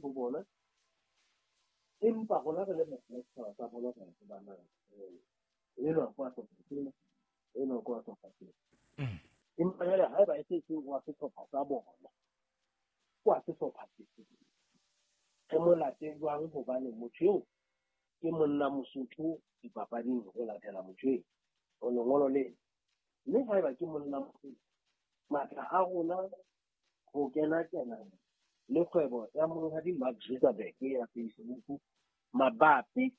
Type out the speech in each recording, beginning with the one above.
ho bona. Empa rona re le batho ba setjhaba sa bolo re a tseba na enwa ke wa sehlopha sena, enwa ke wa sehlopha sena. Empa jwale haeba e se se wa sehlopha sa bona, ke wa sehlopha sefe? Re mo late jwang hobane motho eo ke monna Mosotho dipapading, re latela motho eo o lengolo lena. Mme haeba ke monna Mosotho, matla a rona ho kena kena le kgwebo ya monghadi Mark Zuckerberg ya Facebook mabapi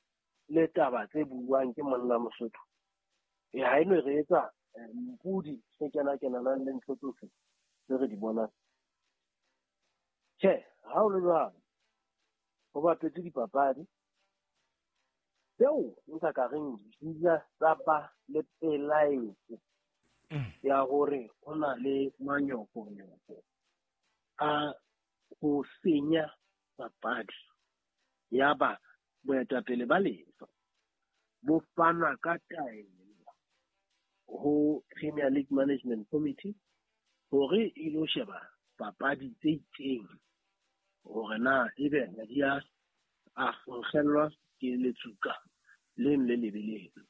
le taba tse buuwang ke monna Mosotho, e ha e no re etsa mpudi se kena kenanang le ntho tsohle tse re di bonang. Tjhe, ha o le jwalo, ho bapetse dipapadi tseo nka ka reng di ile tsa ba le pelaetso ya hore ho na le manyofonyofo a ho senya papadi. Ya ba boetapele ba lefa bo fana ka taelo ho Premier League Management Committee hore e lo sheba papadi tse itseng hore na ebe ha di a nkgellwa ke letsuka leno le lebe leno.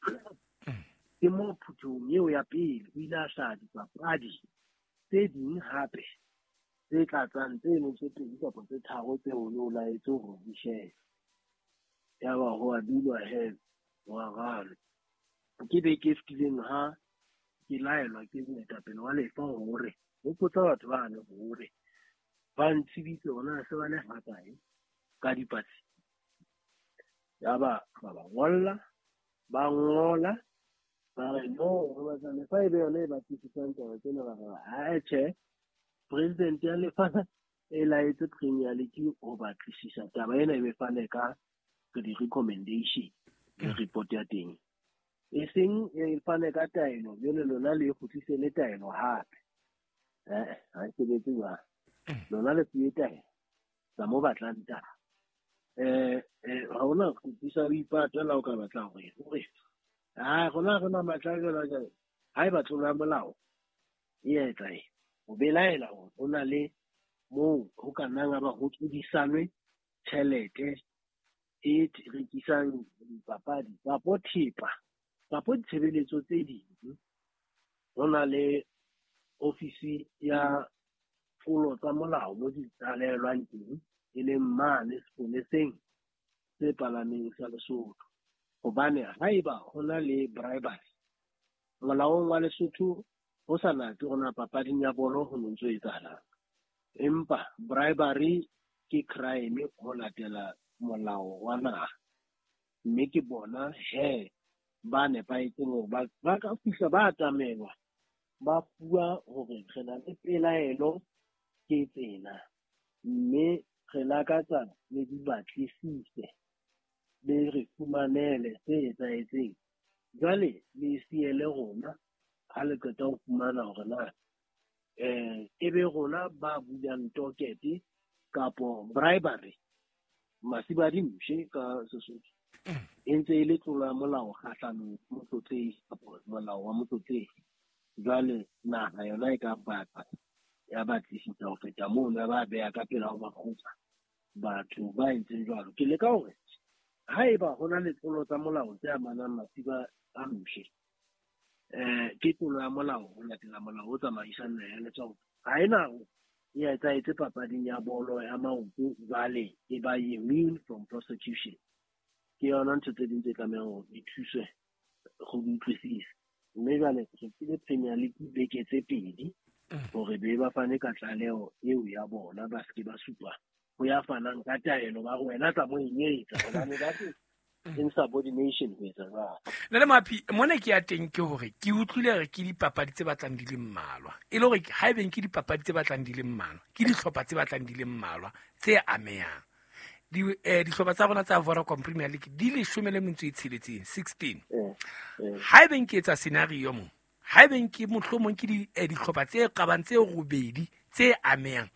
Ke moo phuthehong eo ya pele o ile a hlaha dipapadi tse ding hape tse tlatsang tseno tse pedi kapa tse tharo tseo o laetse hore di shebe. Yaba ho a dulwa he, ho a ralwa. Ke beke e fetileng ha ke laelwa ke moetapele wa lefa hore hopotsa batho bane hore ba ntsebise hore na se ba le hakae ka dipatlisiso. Yaba ba ba ngolla, ba ngola, ba re no, re batla lefa e be yona e batlisisang taba tsena. Ba re ha tjhe, president ya lefa e laetse Premier League ho batlisisa taba ena e be fane ka di-recommendation le report ya teng. E seng e fane ka taelo, jwale lona le kgutlise le taelo hape. Ha e sebetse jwalo. Lona le fuwe taelo tsa mo batlang taba. Ha hona kgutlisa ho ipata la o ka batla hore hore ha rona re na matla jwalo jwalo. Ha eba tlolo ya molao e etsa eng? O belaela hore ho na le moo ho ka nnang ha ba ho tlodisanwe tjhelete e rekisang dipapadi kapo thepa kapo ditshebeletso tse ding. Ho na le ofisi ya tlolo tsa molao mo di tlalelwang teng, e leng mane sepoleseng se palameng sa Lesotho. Hobane haeba ho na le bribery molaong wa Lesotho, ho sa natse hore na papading ya bolo ho no ntso etsahalang, empa bribery ke crime ho latela molao wa naha. Mme ke bona he ba nepahetseng hore ba ka fihla ba atamelwa, ba fuwa hore re na le pelaelo ke tsena, mme re lakatsa le di batlisise, le re fumanele se etsahetseng. Jwale le siele rona ha le qeta ho fumana hore na e be rona ba bulang tokete kapo bribery, masiba di mpshe ka Sesotho, e ntse e le tlolo ya molao kgahlanong motlotlehi kapo molao wa motlotlehi. Jwale naha yona e ka batla ya batlisisa ho feta mono, ya ba beha ka pela ho makgotla batho ba entseng jwalo. Ke leka hore haeba ho na le tlolo tsa molao tse amanang masiba a mpshe, ke tlolo ya molao ho latela molao o tsamaisang naha ya Lesotho. Ha ena e etsahetse papading ya bolo ya maoto, jwale e ba immune from prosecution. Ke yona ntho tse ding tse tlamehang hore di thuswe go di utlwisisa. Mme jwale re file Premier League beke tse pedi hore be ba fane ka tlaleho eo ya bona, ba seke ba supa ho ya fanang ka taelo ba re wena tla mo e etsa, hobane ba se insubordination ho etsa jwalo. Nna le Mapi, mona ke ya teng ke hore ke utlwile re ke dipapadi tse batlang di le mmalwa. E le hore ha ebe ke dipapadi tse batlang di le mmalwa, ke dihlopha tse batlang di le mmalwa tse amehang. Dihlopha tsa rona tsa Vodacom Premier League di 16, 16. Ha ebe ke etsa scenario mo, ha ebe ke mohlomong ke dihlopha tse qabang tse robedi tse amehang.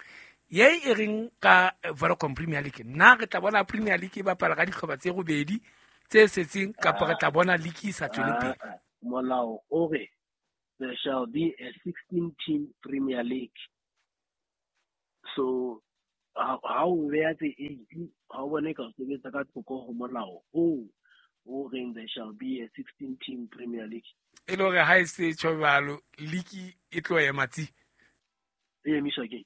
Ye e reng ka Vodacom Premier League, nna re tla bona Premier League e bapala ka dihlopha tse robedi tse setseng, kapa re tla bona league e sa tswele pele? Molao o re there shall be a 16 team Premier League. So Ha o beha tse 8 ha o bone ka o sebetsa ka thoko ho molao o reng there shall be a 16 team Premier League. E le hore ha e se tjho jwalo league e tlo ema tsi. E emiswa ke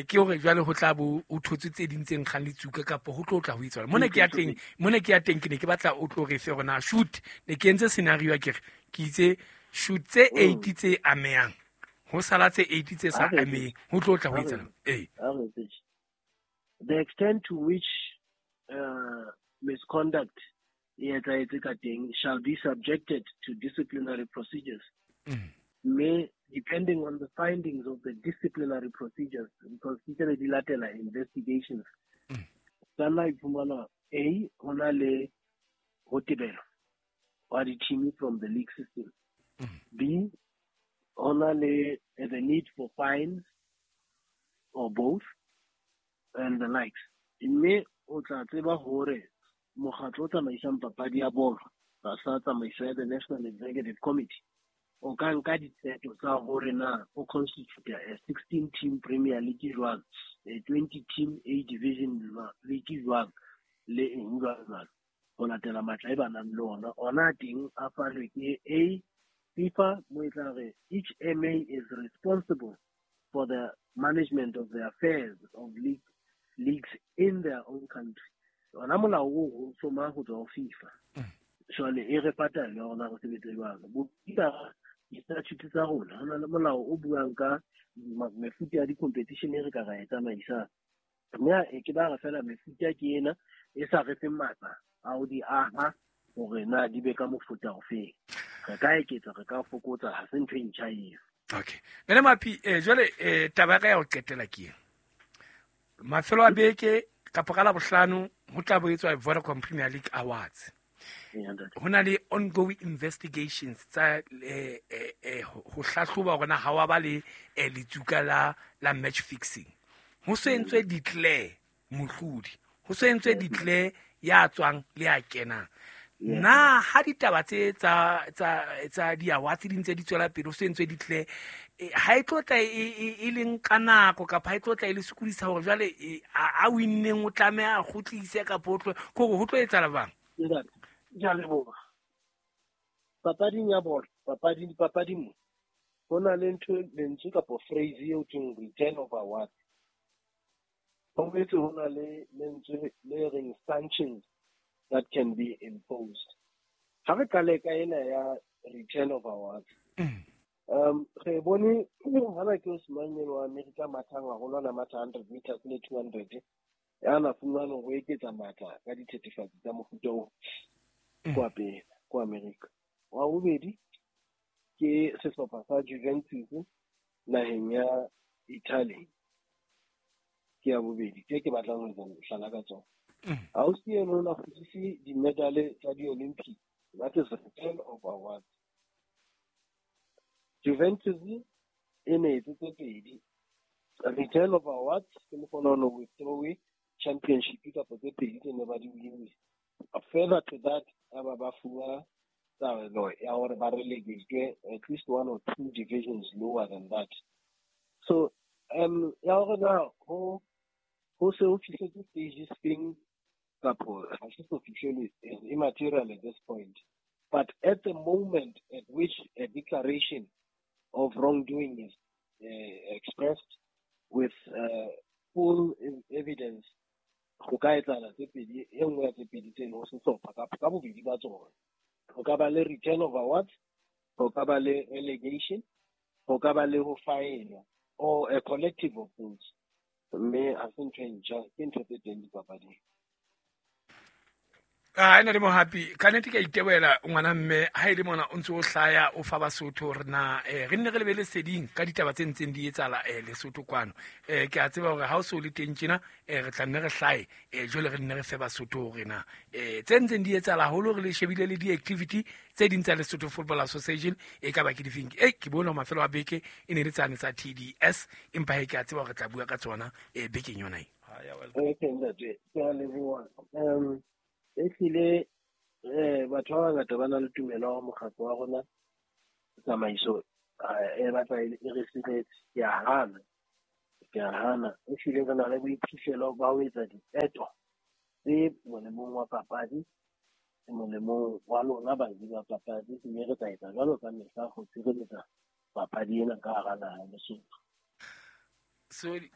ke hore jwale ho tla bo o thotse tse ding tse nkgang le tsuka kapa ho tlo tla ho itswala. Mona ke ya teng, mona ke ya teng ke ne ke batla o tlo re fe hore na shoot ne ke entse scenario ke re ke itse shoot tse 8 tse amehang ho sala tse 8 tse sa ameheng ho tlo tla ho itswala. The extent to which misconduct e etsahetse ka teng shall be subjected to disciplinary procedures. May, depending on the findings of the disciplinary procedures, because di di latela investigations, kana iphumana A, hona le ho tebelo wa di-team from the league system. B, hona le the need for fines or both and the likes. Mme o tla tseba hore mokgatlo o tsamaisang papadi ya bolo tlasa tsamaiso ya the National Executive Committee o ka nka diqeto tsa hore na o constitute a 16 team Premier League jwang, a 20 team A division league jwang, le eng jwang jwalo, ho latela matla e ba nang le ona. Ona teng a fanwe ke A FIFA mo e tla re each MA is responsible for the management of the affairs of leagues in their own country. Ona molao o soma ho tswa ho FIFA. Jwale e re patala yona ho sebetsa jwalo. Bo di-statute tsa rona ho na le molao o buang ka mefuta ya di-competition e re ka ra e tsamaisang. Mme e ke ba re fela mefuta ke ena e sa re feng matla a ho di aha hore na di be ka mofuta ofeng. Re ka eketsa, re ka fokotsa, ha se ntho e ntjha eo. Okay. Nene Mapi, jwale taba ya ka ya ho qetela ke ena. Mafelo a beke kapa ka Labohlano ho tla bo etswa Vodacom Premier League Awards. Ho na le ongoing investigations tsa ho hlahloba hore na ha wa ba le letsuka la match fixing. Ho se entswe declare mohlodi, ho se entswe declare ya tswang le ya kenang. Na ha ditaba tse tsa di-awards di ntse di tswela pele ho se entswe declare, ha e tlo tla e leng ka nako kapa ha e tlo tla e le sokodisa hore jwale a winneng o tlameha a kgutlise kapa o tlo kore ho tlo etsahala bang? Ke a leboha. Papading ya bolo, papading mo, ho na le ntho lentswe kapa phrase eo thweng return of award. Ho boetse ho na le lentswe le reng sanctions that can be imposed. Ha re qale ka ena ya return of awards. Re bone hana ke Osman wa America mathang haholo ana matha 100 meters le 200 ya na fumana ho eketsa matla ka dithethefatsi tsa mofuta oo kwa pele kwa America. Wa bobedi ke sehlopha sa Juventus naheng ya Italy. Ke ya bobedi tse ke batlang ho etsa mohlala ka tsona. Ausi eno na kgutlise di-medal tsa di-Olympic, that is return of awards. Juventus e ne etse tse pedi, return of awards ke mokgona ho withdraw championship kapa tse pedi tse ne ba di winne. Further to that, ba fuwa taelo ya hore ba relegate at least one or two divisions lower than that. So ya hore na ho se ho fihletse stage sefeng kapo ha se so fihlele is immaterial at this point. But at the moment at which a declaration of wrongdoing is expressed with full evidence, ho ka etsahala tse pedi, e nngwe ya tse pedi tseno ho sehlopha kapa ka bobedi ba tsona. Ho ka ba le return of awards, ho ka ba le relegation, ho ka ba le ho faenwa, or a collective of those. Mme ha se ntho e ntjha, ke ntho tse teng dipapading. Ena le Mohapi, ka nnete ke a itebohela ngwana mme ha e le mona o ntse o hlaya o fa Basotho hore na re nne re lebe leseding ka ditaba tse ntseng di etsahala Lesotho kwano. Ke a tseba hore ha o so le teng tjena re tla nne re hlahe jwale re nne re fe Basotho hore na tse ntseng di etsahala haholo re le shebile le di-activity tse ding tsa Lesotho Football Association e ka ba ke difeng. Ke bone mafelo a beke e ne le tsane tsa TDS empa he ke a tseba hore re tla bua ka tsona bekeng yona e. Okay, ntate, ke a leboha. Ehlile batho ba bangata ba na le tumelo ya mokgatlo wa rona tsamaiso e batla e re siretse. Ke a hana. Ke a hana. Ehlile re na le boiphihlelo ba ho etsa diqeto tse molemong wa papadi, molemong wa lona baji ba papadi, mme re tla etsa jwalo ka mehla ho tshireletsa papadi ena ka hara naha ya Lesotho. Sorry.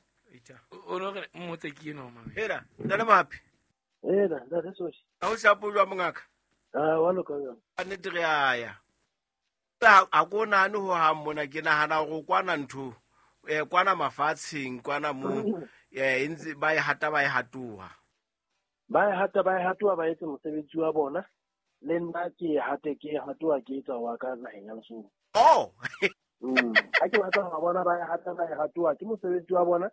O no re mmotse ke eno mame. Hela, ntate Mohapi. Hela, ntate Soshi. Ha o shapo jwa mongaka? Ah, wa loka jwang? Ka nnete re a ya. Ha ko nahane ho hang mona, ke nahana hore kwana ntho, kwana mafatsheng, kwana mo, e ntse ba e hata ba e hatoha. Ba e hata ba e hatoha, ba etse mosebetsi wa bona. Le nna ke e hate ke e hatoha ke etsa wa ka naheng ya Lesotho. Oh. Ha ke batla ho bona ba e hata ba e hatoha, ke mosebetsi wa bona.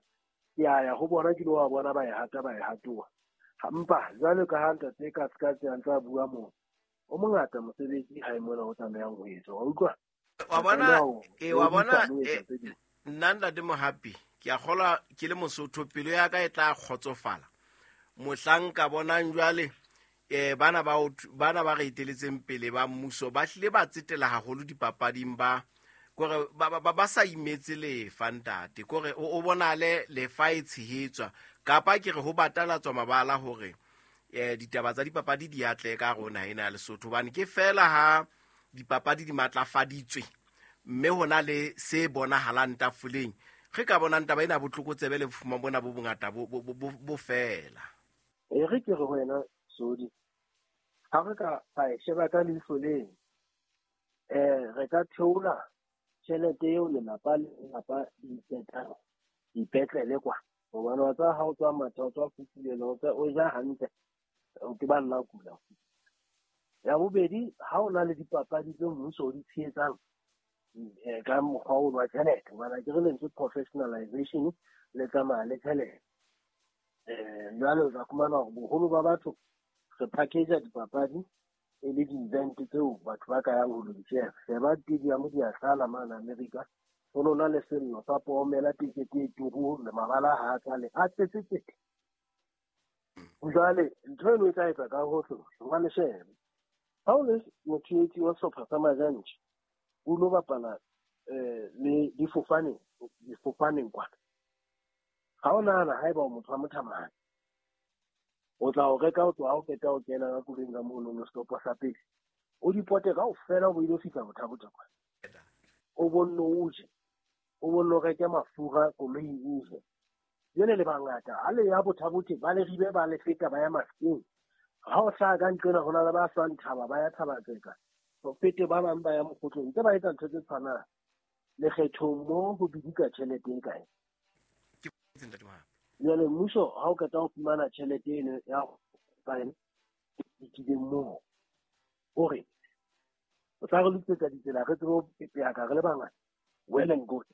Ke a ya ho bona ke lo wa bona ba e hata ba e hatoha. Empa jwalo ka ha ntate ka ska tse ntse a bua moo, o mongata mosebetsi ha e mona o tlamehang ho etswa, wa utlwa? Wa bona, wa bona, nna ntate Mohapi, ke a kgolwa ke le Mosotho, pelo ya ka e tla kgotsofala mohlang ka bonang jwale bana ba re eteletseng pele ba mmuso ba hlile ba tsetela haholo dipapading, ba kore ba sa imetse lefa ntate, kore o bonale lefa e tshehetswa, kapa ke re ho batalatswa mabala hore ditaba tsa dipapadi di atle ka rona ena ya Lesotho, hobane ke fela ha dipapadi di matlafaditswe mme hona le se bonahalang tafoleng, re ka bonang taba ena botlokotsebe le bofuma bona bo bongata bo fela. E re ke re ho wena Sodi, ha re ka ra e sheba ka leihlo leno, re ka theola tjhelete eo lelapa le lelapa dipetlele kwa, hobane wa tseba ha o tswa matha, o tswa fufulelwa, o ja hantle, o ke ba nna kula. Ya bobedi, ha o na le dipapadi tse mmuso o di tshehetsang ka mokgwa o wa tjhelete, hobane ke re lentswe professionalization le tsamaya le tjhelete. Jwale o tla fumana hore boholo ba batho re package dipapadi e le di-event tseo batho ba ka yang ho lo di sheba. Sheba stadium di a tlala mane America, ho no na le sello sa pomela tekete e turu le mabala ha a tlale, a tletse tsete. Jwale ntho eno e tla etsa ka hohle, jwale sheba ha o le motshehetsi wa sehlopha sa Majantjhe, o lo bapala le difofaneng kwana. Ha o nahana haeba o motho wa mothamane, o tla o reka o tloha o qeta o kena ka koloing ka mono no setopo sa pele, o di pote kaofela o bo ilo fihla Botha-Bothe kwana. O bonno o je, o bonno reke mafura koloing o je. Jwale le bangata ha le ya Botha-Bothe ba le ribe ba le feta ba ya Mafikeng. Ha o hlaha ka nqena ho na le ba hlwang thaba ba ya Thaba-Tseka, ho fete ba bang ba ya Mokgotlong, tse ba etsa ntho tse tshwanang. Lekgethong mo ho bidika tjhelete e kae? Jwale mmuso ha o qeta ho fumana tjhelete eno ya dikileng moo, o re o tla re lokisetsa ditsela re tsebe ho pepeaka re le bangata, well and good.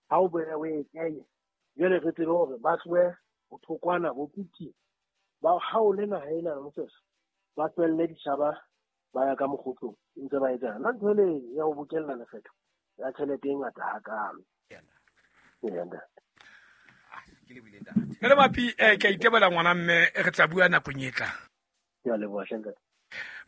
Ha o boela o e kenye, jwale re tsebe hore ba tlohe ho thokwana bo Putin, ba haole naha ena ya Mosese, ba tlohelle ditjhaba ba ya ka mokgotlong ntse ba etsana. Nna ntho ele ya ho bokella lekgetho ya tjhelete e ngata hakalo. Ee, ntate. Ntate Mapi, ke a itebola ngwana mme re tla bua nakong e tlang. Ke a leboha hle ntate.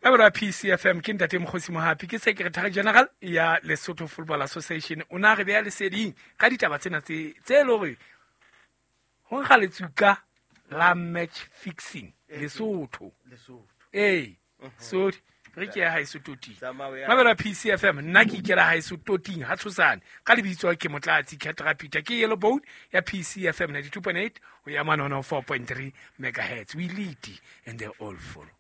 Mabelo a PCFM ke ntate Mokgosi Mohapi, ke Secretary General ya Lesotho Football Association. O na re beha leseding ka ditaba tsena tse e le hore ho nkga letsuka la match fixing Lesotho. Ee, sorry, re ke ya haeso toting. Mabelo a PCFM, nna ke ikela haeso toting ha tshosane ka lebitso ke Motlatsi Ketra Peter, ke Yellow Bone ya PCFM 92.8 ho ya mane 104.3 megahertz. We lead and they all follow.